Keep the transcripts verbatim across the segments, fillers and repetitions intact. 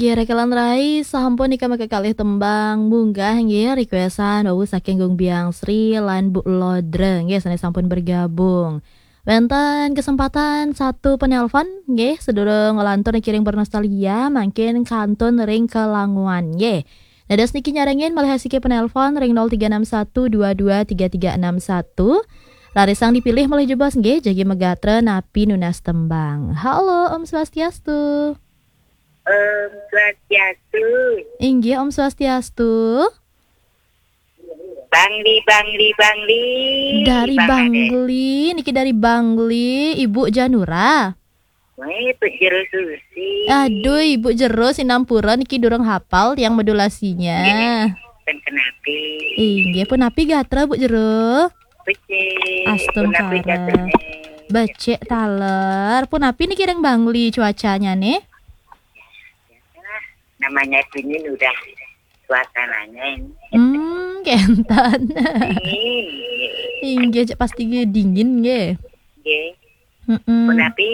Ya, rekelan rai, sampun nika makakalih tembang munggah nggih, requestan wau saking Gung Biang Sri lan Bu Lodra nggih, sane sampun bergabung. Wenten kesempatan satu penelpon nggih, sedurung lantur niki ring bernostalgia, mangkin kantun ring kelanguan nggih. Dados niki nyarengin malih asiki penelpon ring nol tiga enam satu dua dua tiga tiga enam satu. Rarisang dipilih malih jebos nggih, jagi megatra napi nunas tembang. Halo, Om Swastiastu. Om Swastiastu. Inggih, Om Swastiastu. Bangli, Bangli, Bangli. Dari Bang Ade. Bangli, niki dari Bangli, Ibu Janura. Weh, Bu Jero Susi. Aduh, Ibu Jero, sinampura niki durung hafal tiang modulasinya. Nggih, ten kenapi. Inggih, punapi gatra, Bu Jero? Becik. Astungkara. Punapi gatrane? Becik taler. Punapi niki ring Bangli cuacanya nih? Namanya dingin udah suasananya ini. Hmm, kenten. Dingin. Inggih, cek pasti nggih dingin nggih. Nggih. Mm-mm. Punapi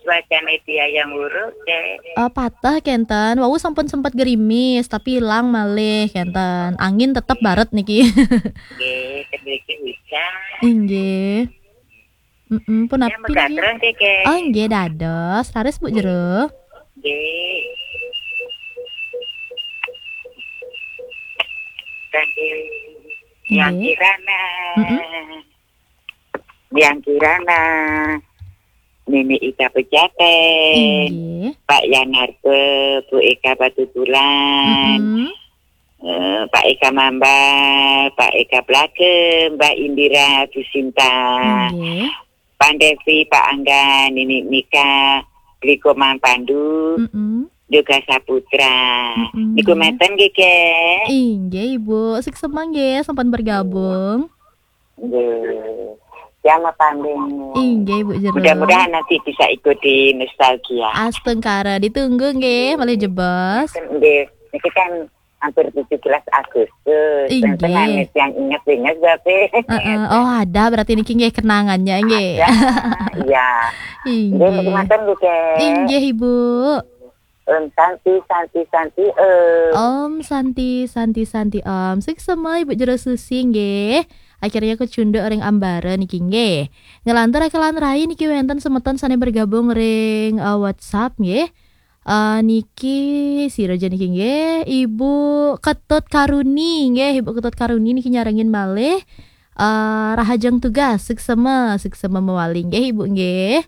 cuacane tiang yang buruk, Cek? Eh, patah kenten. Wau sampun sempat gerimis, tapi hilang malih kenten. Angin tetep baret niki. Nggih, sedikit hujan. Inggih. Mm-mm, punapi nggih? Megatreng, Keke. Oh, nggih, dados. Raris, Bu Jero. Nggih. Saking Yang Nggih. Kirana. Mm-mm. Yang Kirana. Nini Ika Pejaten. Inggih. Pak Yanarto, Bu Eka Batubulan. Mm-mm. Eh, Pak Eka Mambal, Pak Eka Blake, Mbak Indira Susinta, Nggih. Pak Devi, Pak Angga, Nini Nika, Bliko Mang Pandu, Mm-mm. Yoga Saputra. Mm-mm. Niku meten nggih, Kek? Inggih, Ibu. Suksma nggih, sampun bergabung. Nggih. Siang apa, Mbak? Inggih, Bu Jero. Mudah-mudahan nanti bisa ikuti nostalgia. Astungkara, ditunggu nggih, malih jebos. Nggih. Niki kan hampir tujuh belas Agustus. Inggih. Tenang, yang ingat-ingat, Bapak. Heeh. Oh, ada berarti niki nggih kenangannya nggih. Ada. Iya. Inggih. Nggih, mboten nggih, Kek. Inggih, Ibu. Om Santi, Santi, Santi, Om. Om Santi, Santi, Santi, Om. Suksma, Ibu Jero Susi nggih. Akhirnya kecunduk ring ambara niki nggih. Ngelantur rekelan rai niki wenten semeton sane bergabung ring, eh, WhatsApp nggih. Eh, niki sira ja niki nggih, Ibu Ketut Karuni nggih, Ibu Ketut Karuni niki nyarengin malih. Eh, rahajeng tugas, suksma, suksma mawali nggih, Ibu nggih.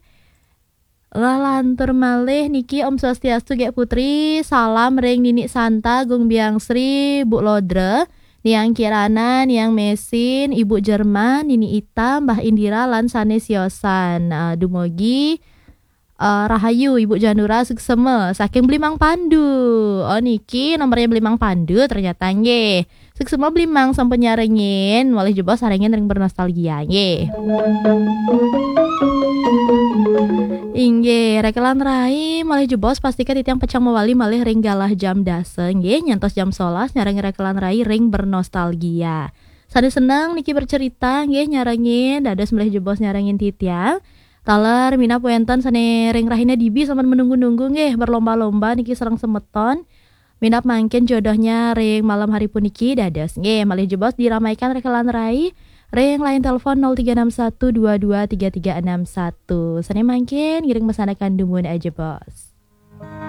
Ngelantur malih niki, Om Swastiastu, Gek Putri, salam ring Nini Santa, Gung Biang Sri, Bu Lodra, Niang Kirana, Niang Mesin, Ibu Jerman, Nini Ita, Mbah Indira, lan sane siosan. Eh, dumugi, eh, rahayu, Ibu Janura, suksma, saking Blimang Pandu. Oh, niki nomornya Blimang Pandu ternyata nggih. Suksma Blimang sampun nyarengin, malih jebos sarengin ring bernostalgia nggih. Inggih, rekelan rai malih jebos pastika titiang pacang mawali malih ring galah jam dasa nggih, nyantos jam solas nyarengin rekelan rai ring bernostalgia. Sane seneng niki bercerita nggih, nyarengin, dados malih jebos nyarengin titiang. Taler minab wenten sane ring rahina dibi sampun menunggu-nunggu nggih, berlomba-lomba niki sareng semeton. Minab mangkin jodohnya ring malam hari puniki dados. Nggih, malih jebos diramaikan rekelan rai ring line telepon nol tiga enam satu dua dua tiga tiga enam satu. Sane mangkin ngiring mesanakan dumun aja, Bos.